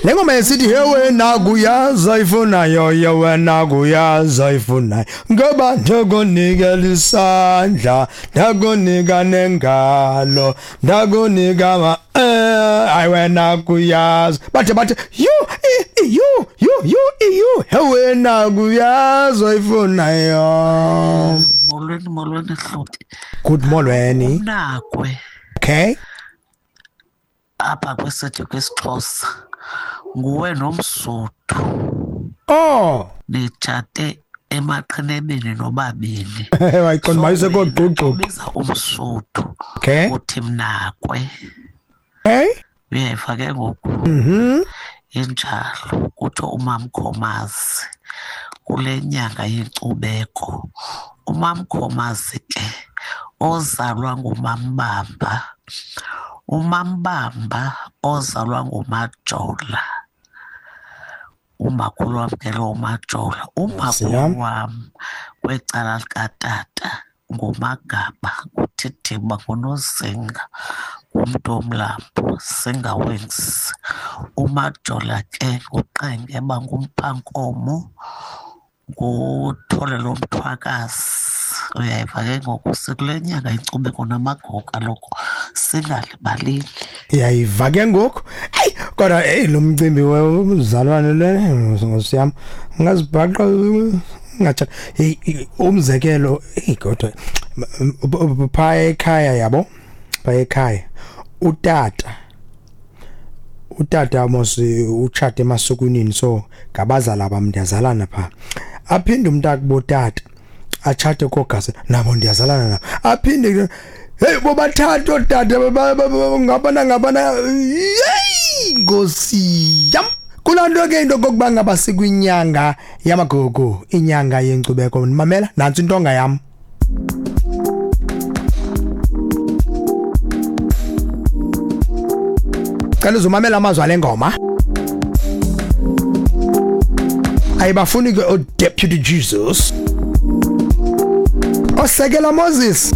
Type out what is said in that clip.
Le ngoma esithi he wena kuyaza ifunayo, ye wena kuyaza ifunayo, ngoba ndakunikela isandla, ndakunika nengalo, ndakunika ma ayi wena kuyaza. Bathe yu yu yu yu yu, he wena kuyaza ifunayo. Molweni, molweni Hluti. Good molweni. Umnakwe. Okay. Apha kwesithi kwisiXhosa nguwe nomSuthu. Oh. Nitshate emaqhinebeni nobabini. Wayiqonda mayise kogqugqu. Biza umSuthu. Okay. Uthi mnakwe. Hey. Uyayiva ke ngoku. Injalo kutsho uMamkhomazi kule nyanga yenkcubeko. UMamkhomazi ke ozalwa nguMambamba. UMambamba ozalwa nguMajola. Umakhulu wam ke lo uMajola. Umakhulu wam kwecala likatata nguMagaba, nguThithiba, nguNozinga, ngumntu omlambo, Singa Wings. UMajola ke nguQengeba, nguMphankomo, nguThole lomthwakazi. Uyayiva ke ngoku, sikule nyanga inkcubeko namagogo kaloku, singalibalini. Uyayiva ke ngoku. Eyi kodwa hey lo mcimbi womzalwane le nkosi yam ngazibhaqa ngathi hey umzekelo hey kodwa pha ekhaya yabo, pha ekhaya utata mos utshate emasukwini, so ngabazala bam ndiyazalana pha. Aphinde umntakubo tata atshate kogase nabo ndiyazalana nabo. Aphinde hey bobathathu ootata ngabana yeyi nkosi yam. Kulaa nto ke into okokuba ngaba sikwinyanga yamagugu, inyanga yenkcubeko. Mamela nantsi intonga yam. Cela uzomamela amazwi ale ngoma. Ayibafuni ke oDeputy Jesus, osekela Moses.